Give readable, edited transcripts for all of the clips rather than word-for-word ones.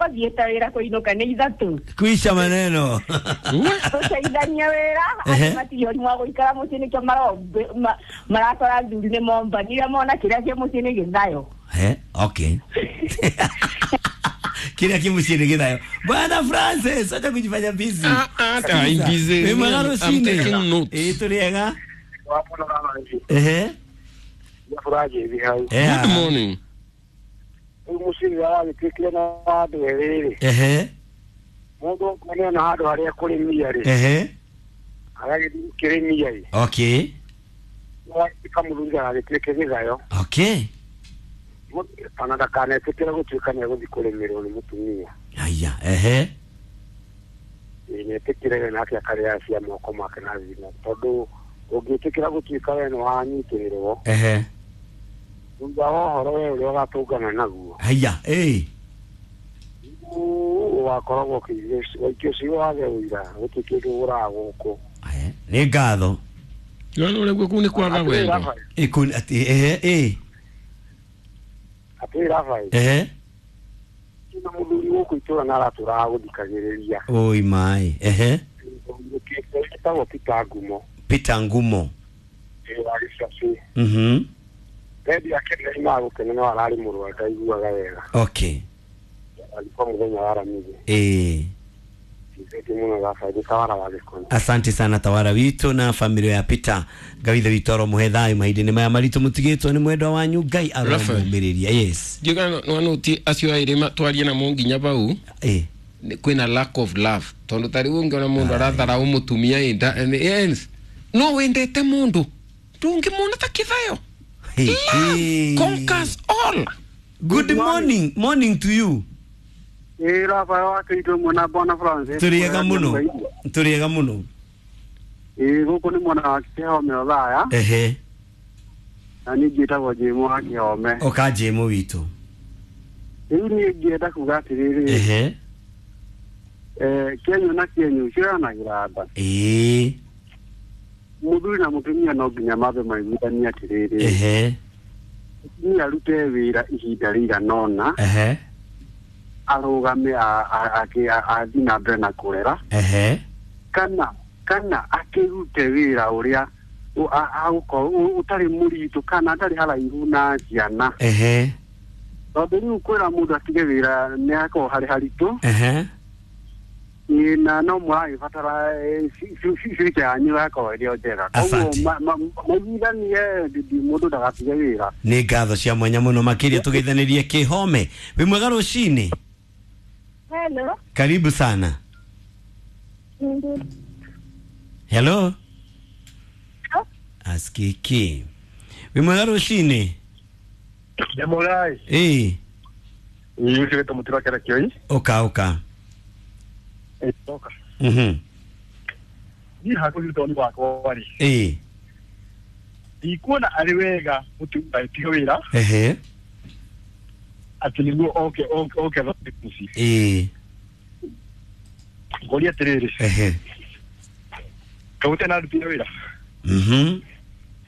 Ũthiĩte wĩra kũinũka nĩ 3. Kuisha maneno. Tũteithanie wĩra, andũ matirĩ ũrimũ wa gũikara mũciĩ nĩkĩo marakora athuri nĩ mombanire mona kĩrĩa kĩ mũciĩ nĩ gĩthayo. Okay. Kila kimu chini githayo. Bwana Francis, acha kujifanya busy. I'm busy. Wĩ mwega I'm rũcinĩ. taking notes. Ĩĩ tũrĩega. Ehe. Good morning. Ehe. Ehe. Okay. Okay. Haya, ehe. Ehe. Haya, eh. Aya, nĩ ngatho. Yono ule kuni ni kwaga wendo. Ikuni ati ehe eh. Ehe. Oi mai. Ehe. Peter Ngumo. Mhm. Okay. Eh. Asante sana tawara witũ na familia ya Peter. Ngawithe witũ aromuhe thayũ mahinda-inĩ maya maritũ mũtigĩtwo nĩ mwendwa wanyu. Ngai aromũmĩrĩria. Yes. Ndiũĩ kana nĩwanũti acio erĩ twarie namo nginya bau. Kwĩna lack of love tondũ ta rĩu ũngĩona mũndũ aratharau mũtumia enda no wendete mũndũ ndũngĩmuona ta kĩthayo. Love conquers all. Good morning, morning to you. Tũrĩega mũno. Tũrĩega mũno. Gũkũ nĩ mwena wa Kĩhome Othaya. Ehe. Na niĩ njĩtagwo Jĩmũ wa Kĩhome. Ũka Jĩmũ witũ. Rĩu niĩ ngĩenda kuga atĩrĩrĩ. Ehe. Kĩenyũ na kĩenyũ cioyanagĩra nda. Ĩĩ. Mũthuri na mũtumia no nginya mambe maiguithanie atĩrĩrĩ. Ehe. Mũtumia arute wĩra ihinda rĩigana ũna. Ehe. Arũgame athiĩ na mbere na kũrera. Ehe. Kana akĩrute wĩra ũrĩa agũkorwo ũtarĩ mũritũ kana atarĩ haraihu na ciana. Ehe. Tondũ rĩu kwĩra mũndũ atige wĩra nĩ hakoragwo harĩ haritũ. Ehe. Na no mũragĩbatara future yanyu yakorwo ĩrĩ o njega. Koguo maiguithanie mũndũ ndagatige wĩra. Nĩ ngatho cia mwanya mũno makĩria tũgeithanĩrie Kĩhome. Wĩ mwega rũcinĩ. Hello. Karibu sana. Hello. Askiki. Wĩ mwega rũcinĩ. Ndĩmũrai. Ĩĩ. Ĩĩ ũcio mũtira kera kĩoi. Ũka ũka. Ũka. Mhm. Niĩ hakũrĩ ũtoni wakwa rĩ. Ĩĩ. Ndikuona arĩ wega mũtumia atige wĩra. Ehe. Atĩ nĩguo oke oke athondeke mũciĩ. Ĩĩ. Ngũria atĩrĩrĩ. Ehe. Kaũte na arutire wĩra. Mhm.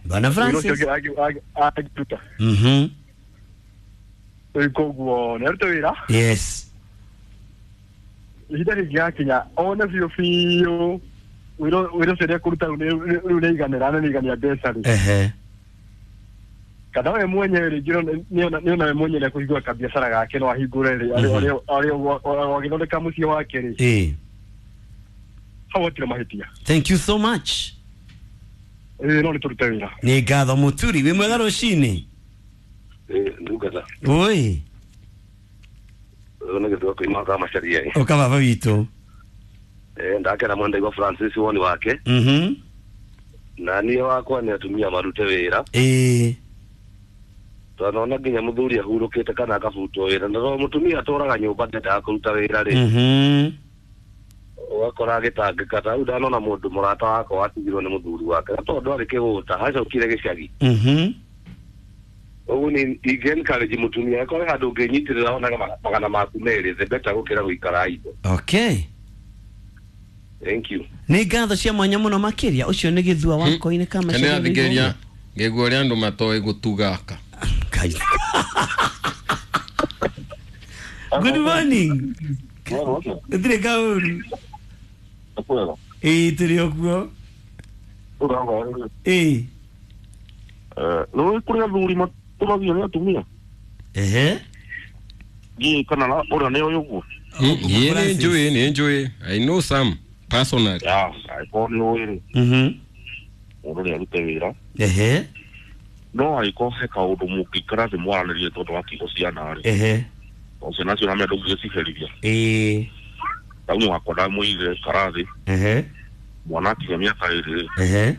Bwana Francis. Wĩra ũcio angĩruta. Mhm. Rĩu koguo nĩ arute wĩra. Yes. Ihinda rĩngĩgakinya one biũ biũ wĩra ũcio nĩekũruta rĩu nĩaiganĩra na nĩaigania mbeca rĩ. Ehe. Kana we mwenyewe rĩngĩ nĩona we mwenyewe nĩekũhingũra kabiacara gake no ahingũre rĩ arĩ agĩthondeka mũciĩ wake rĩ. Ĩĩ. Hau hatirĩ mahĩtia. Thank you so much. Ĩĩ no nĩtũrute wĩra. Nĩ ngatho Mũturi. Wĩ mwega rũcinĩ. Ndungata. Oi. Nĩ gĩthũa koima ka macaria. Ũka baba witũ. Ndakena mũno ndaigua Francis woni wake. Mhm. Na niĩ wakwa nĩ atumia marute wĩra. Ĩĩ. Twanona nginya mũthuri ahurũkĩte kana akabutwo wĩra na to mũtumia atũraga nyũmba ndendaga kũruta wĩra rĩ. Mhm. Ũgakora agĩtangĩka ta rĩu ndanona mũndũ mũrata wakwa watigirwo nĩ mũthuri wake na tondũ arĩ kĩgũta acokire gĩcagi. Mhm. Ũguo nĩ ingĩ encourage mũtumia akorwo handũ ũngĩnyitĩrĩra onaga magana maku merĩ the better gũkĩra gũikara idle. Okay. Thank you. Nĩ ngatho cia mwanya mũno makĩria ũcio nĩ gĩthua wakoinĩ ka macaria. Nĩ athikĩrĩria ngĩigua ũrĩa andũ matoĩ gũtugaka. Ngai. Good morning. Ndire kauru. Ĩĩ, tũrĩ o kuo. Ĩĩ. Nĩ kũrĩ athuri matũmagio nĩ atumia. Ehe. Ndiũĩ kana ũrĩa nĩ ũyũ ũguo. Ĩĩ, nĩ njũĩ, nĩ njũĩ. I know some personally. Ya, angĩkorwo nĩ ũĩ rĩ, mũndũ nĩ arute wĩra. Ehe. No angĩkorwo he kaũndũ mũngĩikara thĩ mwaranĩrie tondũ wa kiugo ciana rĩ, Ehe. tondũ ciana cio namenya ndũngĩgĩciherithia. Ĩĩ. Rĩu wakwa ndamũigire ikara thĩ, Ehe. mwana akinya mĩaka 2 rĩ, Ehe.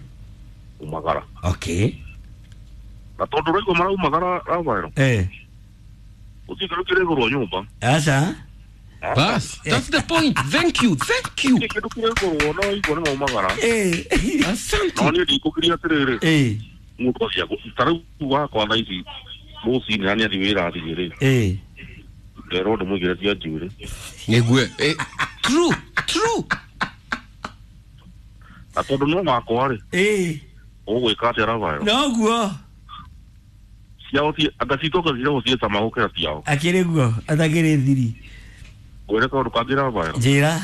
umagara. Okay. Na tondũ ũraigua maraumagara Rafael, Eh. gũtirĩ kĩndũ kĩrĩgũrwo nyũmba. Aca. Bas, that's the point. Thank you, thank you. Gũtirĩ kĩndũ kĩrĩgũrwo no igua nĩ maumagara. Asante. No niĩ ndikũgiria atĩrĩrĩ, mũndũ acio ta rĩu wakwa thaa ici rũcinĩ na nĩathiĩ wĩra athiĩ rĩ, nderwo ndĩmũigĩre cia njuĩrĩ. Nĩguo. True, true. Na tondũ no wakwa rĩ, ũgwĩka atĩa Rafael? Noguo. Ciao anga citũ anga ciragwo ciĩ cama gũkĩra ciao. Akĩrĩ guo atakĩrĩ thiri. Ngwĩre kaũndũ kangĩ Rafael. Njĩra.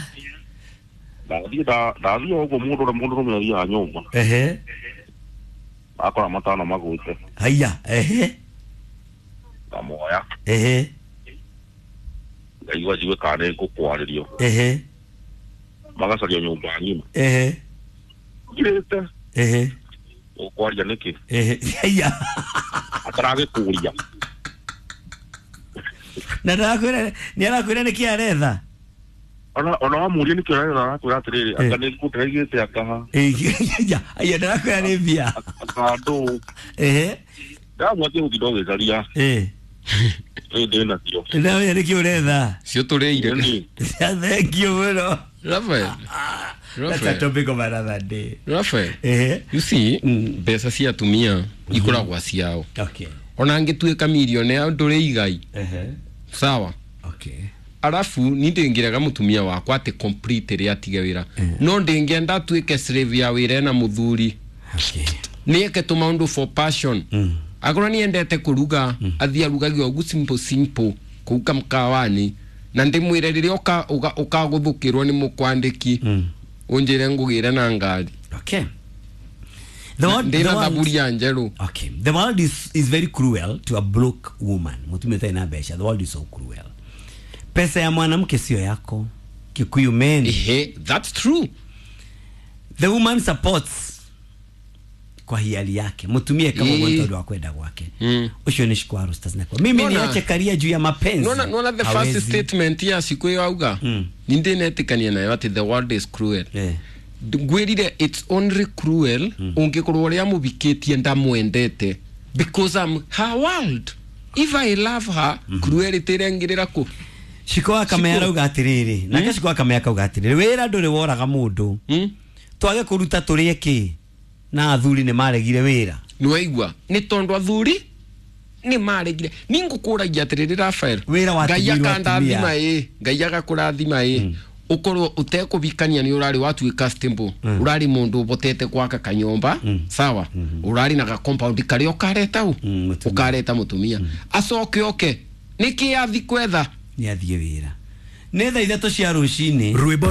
Ndathiĩ ndathiĩ o ũguo mũndũ ũrĩa mũndũrũme athiaga nyũmba. Ehe. Akora matano magũĩte. Haiya. Ehe. Ngamoya. Ehe. Ngaigua njigue kana nĩ ngũkwarĩrio. Ehe. Magacaria nyũmba ng'ima. Ehe. Ngirĩte. Ehe. Ũkwaria nĩkĩ? Ehe. Haiya. Ataragĩkũria. Na ndarakwĩra nĩ arakwĩra nĩkĩ aretha. Ona wamũria nĩkĩ ũretha arakwĩra atĩrĩrĩ, anga nĩ ngũndĩraigĩte anga ha. Haiya, haiya ndarakwĩra nĩ mbia. Anga ndũ. Ehe. Ndamwatia gũtinda ũgĩcaria. Ĩ ndĩ nacio. Ndamenya nĩkĩ ũretha. Cio tũrĩire. Thank you mũno. Rafael. That's a topic of another day. Rafael. Ehe. You see, mbeca cia atumia ikoragwo ciao. Okay. Ona angĩtuĩka millionaire ndũrĩ igai. Ehe. Sawa. Okay. Arafu ni ndĩngĩrega mũtumia wakwa atĩ complete rĩ atige wĩra. No ndĩngĩenda atuĩke slave ya wĩra ena mũthuri. Okay. Nĩeke tũmaũndũ for passion. Akorwo nĩendete kũruga, athiĩ arugage ũguo simple simple kũu kamkawani. Na ndĩmwĩre rĩrĩa ũkagũthũkĩrwo nĩ mũkwandĩki, ũnjĩre ngũgĩre na ngari. Okay. The world, Ndĩna the world, thaburia njerũ. Okay. The world is very cruel to a broke woman. Mũtumia ũtarĩ na mbeca. The world is so cruel. Pesa ya mwanamke sio yako. Kikuyu men. Ehe, that's true. The woman supports kwa hiari yake. Mutumie kama ugonjwa wa kwenda kwake. Ucio ni shikwaru stas na. Mimi niache karia juu ya mapenzi. Nona the first statement ya siku hiyo auga. Ninde netikania nayo ati the world is cruel. Ngwirire it's only cruel ungikorwo uria mubikitie ndamwendete because I'm her world. If I love her, cruelty irengirira ku. Shiko akamea arauga atiriri. Nake shiko akamea akauga atiriri. Wira nduri woraga mundu. Twage kuruta turie ki na athuri ni maregire wira. Niwaigua ni tondu athuri ni maregire. Ningukuragia atiriri Rafael. Wira wa Ngai akandathima ĩ, Ngai agakurathima ĩ. Ukorwo utekubikania ni urari watuika stable. Urari mundu ubotete gwaka kanyomba, sawa? Urari na ga compound karia ukareta u. Ukareta mutumia. Acoke oke. Niki athi kwetha? Ni athie wira. Nĩ thaa 3 cia rũcinĩ.